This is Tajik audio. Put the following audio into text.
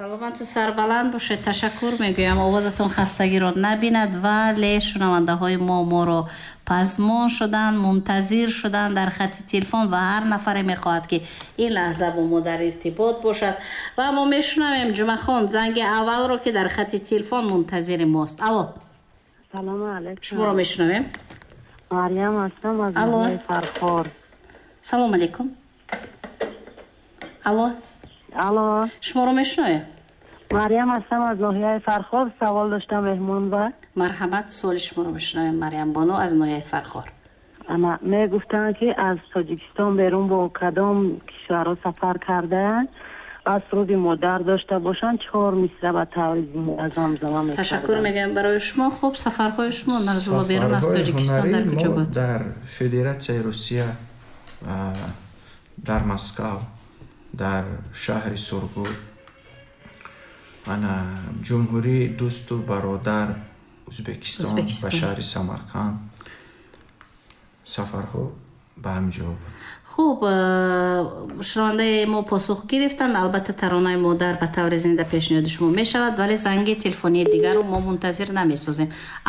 Саломату сарбаланд бошед, ташаккур мегӯям. Овозатон хастагиро набинад, вале шунавандаҳои мо моро пазмон шуданд, мунтазир шуданд дар хати телефон ва ҳар нафаре мехоҳад, ки ин лаҳза бо мо дар иртибот бошад. Ва мо мешунавем, Ҷумъахон, занги аввалро, ки дар хати телефон мунтазири мост. Алло. Салому алайкум. Шуморо мешунавем. Марьям ҳастам аз Алло. ноҳияи Фархор. Салому алейкум, алло. Алло. Шуморо мешунавем. Марьям ҳастам аз ноҳияи Фархор. Савол доштам меҳмон ба. Марҳамат, суоли шуморо мешунавем, Марьям бону аз ноҳияи Фархор. Ана мегуфтанд, ки аз Тоҷикистон берун бо кадом кишварҳо сафар кардаанд ва суруди модар дошта бошанд, чор мисра ба таври зинда замзама Ташаккур мекарданд. мегӯям барои шумо. Хуб, сафарҳои шумо, Нарзулло, берун аз Сафарҳои Тоҷикистон дар ҳунарӣ куҷо мо буд? Дар Федератсияи Русия, дар Москав, дар шаҳри Сургут, ана ҷумҳурии дӯсту бародар Ӯзбекистон, ба Ӯзбекистон. шаҳри Самарқанд сафарҳо ба ҳамин ҷо буд. Хуб, шунавандаи мо посух гирифтанд. Албатта, таронаи модар ба таври зинда пешниҳоди шумо мешавад, вале занги телефонии дигарро мо мунтазир намесозем.